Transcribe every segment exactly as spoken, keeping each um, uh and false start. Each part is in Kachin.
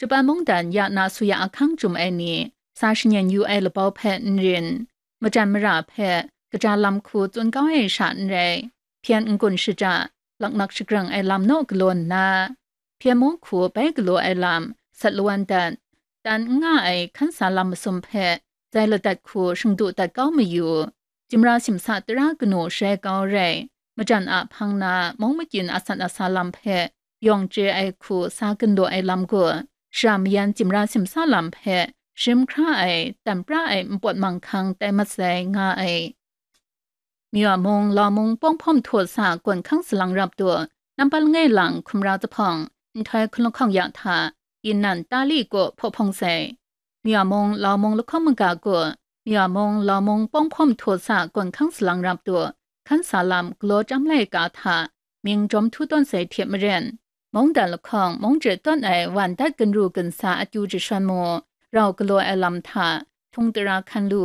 Japan mungdan ya na suya ahkang chyum ai ni, sa shanyen yu ai labau hpe n rin, majan mara hpe kaja lam hku tsun kau ai sha n rai, hpyen n-gun shada, laknak shagrang ai lam naw galaw nna, hpyen mung hku bai galaw ai lam sat lawan dat, tan n nga ai hkan sa lam masum hpe zai ladat hku shingdu dat kau mayu. Jimra simsa tara kanu shai kau rai, majan a hpang na mung makyin asan asa lam hpe yawng chye ai hku sa gun law ai lam gaw, shara mayan jimra simsa lam hpe shim hkra ai, tam pra ai npawt manghkang tai mat sai nga ai. Myaw mung, Lau mung, Pawng hpawm htaw sa gawn hkang salang rap tu, nampa langai lang hkumra zuphpawng, nhtoi hkun lahkawng ya hta, Yinnan Tali kaw hpaw hpawng sai. Myaw mung, Lau mung lahkawng maga gaw, Myaw mung, Lau mung, Pawng hpawm htaw sa gawn hkang salang rap tu, hkan sa lam galaw chyam laika hta, mying jawm htu tawn sai hte maren, mungdan lahkawng mung chye tawn ai wan dat ginru ginsa akyu jashawn mu, rau galaw ai lam hta, htung tara hkan lu,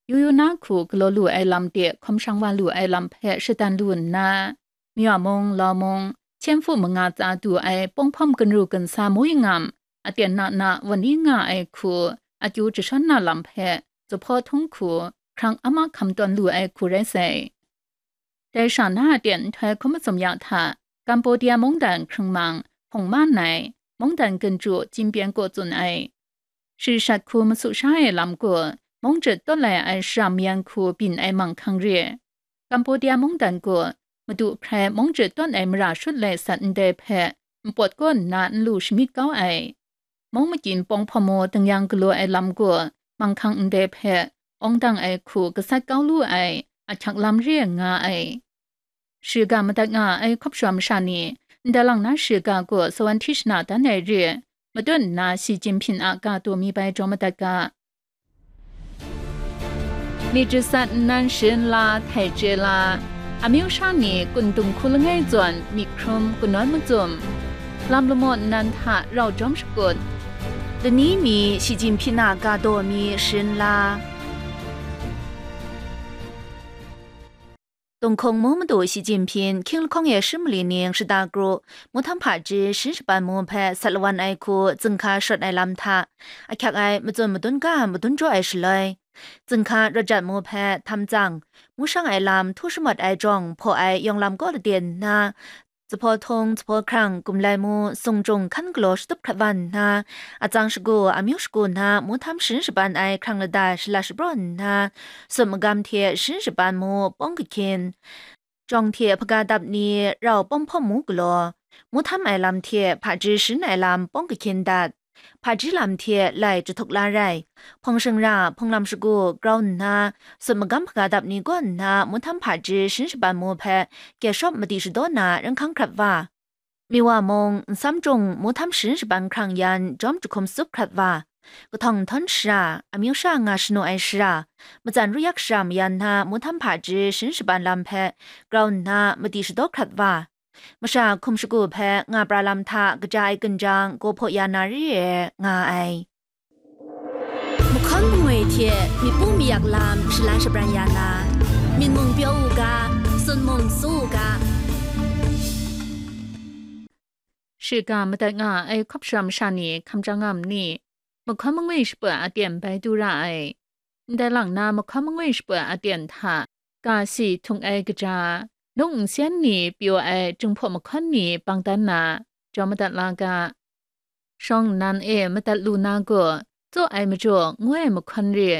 yu yu na hku galaw lu ai lam de hkawm shang wa lu ai lam hpe shadan lu nna, Myaw mung, Lau mung, Hpyen Hpu manga tsa du ai Pawng hpawm ginru ginsa mu yi ngam, aten na na wan yi nga ai hku, akyu jashawn na lam hpe, zuphpawng htung hku, hkrang ama hkam tawn lu ai hku rai sai. Dai sha na aten nhtoi hkrum matsum ya hta, Cambodia mungdan hkrung mang, hpung man ai, mungdan ginchyu Chin Pyen kaw tsun ai. Shi shat hku masu sha ai lam gaw, mung chye tawn lai ai shara mayan hku byin ai manghkang re. Cambodia mungdan gaw, madu hprai mung chye tawn ai mara shut lai sat ndai hpe, npawt kaw nna n lu shamyit kau ai. Mung makyin Pawng hpawm mu ding yang galaw ai lam gaw, manghkang ndai hpe, awng dang ai hku gasat kau lu ai, ahkyak lam re nga ai. Shiga madat nga ai hkawp shawm masha ni, ndai lang na shiga gaw sawan hti shana dan ai re, matut nna Xi Jinping a ga taw mi bai jaw madat ga. Myit jasat nnan sharin la, htai chye la, amyu sha ni kun dung hku langai zawn myit hkrum kanawn matsum, lam lamaw nnan hta rau jawm shakut, lani mi Xi Jinping a ga taw mi sharin la. Tunghkung mu madu Xi Jinping hkying lahkawng e sharin mali ning shada kru, mu htam hpaji sharin shaban mu hpe sat lawan ai hku zinghka shawt ai lam hta, ahkyak ai matsun madun ga madun jaw ai shaloi, zinghka rawt jat mu hpe htam tsang, mu shang ai lam htu shamawt ai jawng hpaw ai yawng lam kaw lade nna, zuphpawng htung, zuphpawng hkrang, gumlai mu, sung jung hkan galaw shatup hkrat wa nna, atsang shagu, amyu shagu na mu htam sharin shaban ai hkrang lada shala shapraw nna, sut magam hte sharin shaban mu pawng kahkyin, jawng hte hpaga dap ni rau pawng hpawm mu galaw, mu htam ai lam hte hpaji sharin ai lam pawng kahkyin dat, hpaji lam hte lai jahtuk la rai, hpawng shingra, hpawng lam shagu grau nna, sut magam hpaga dap ni gaw nna, mu htam hpaji sharin shaban mu hpe, gyet shawp madi shadaw na ringhkang hkrat wa, miwa mung, nsam jung, mu htam sharin shaban hkrang yan, jawm jahkum tsup hkrat wa, kahtawng nhtawm shara, amyu sha nga shanu ai shara, matsan ruyak shara mayan na, mu htam hpaji sharin shaban lam hpe, grau nna, madi shadaw hkrat wa, masha hkum shagu hpe nga pra lam hta kaja ai ginjang, gaw hpaw ya na re ai, nga ai. Mahkawn mangwi hte myit pu mayak lam shalan shabran ya na, myit mung pyaw u ga, sun mung su u ga. Shiga madat nga ai hkawp shara masha ni hkam chyang nga ma ni? Mahkawn mangwi shaput aten bai du ra ai. Ndai lang na mahkawn mangwi shaput aten hta, ga si htung ai kaja, nung nsen ni pyaw ai Jinghpaw mahkawn ni bang dan na, jaw madat la ga. Shawng nnan e madat lu na gaw, tsaw ai majaw ngu ai mahkawn re,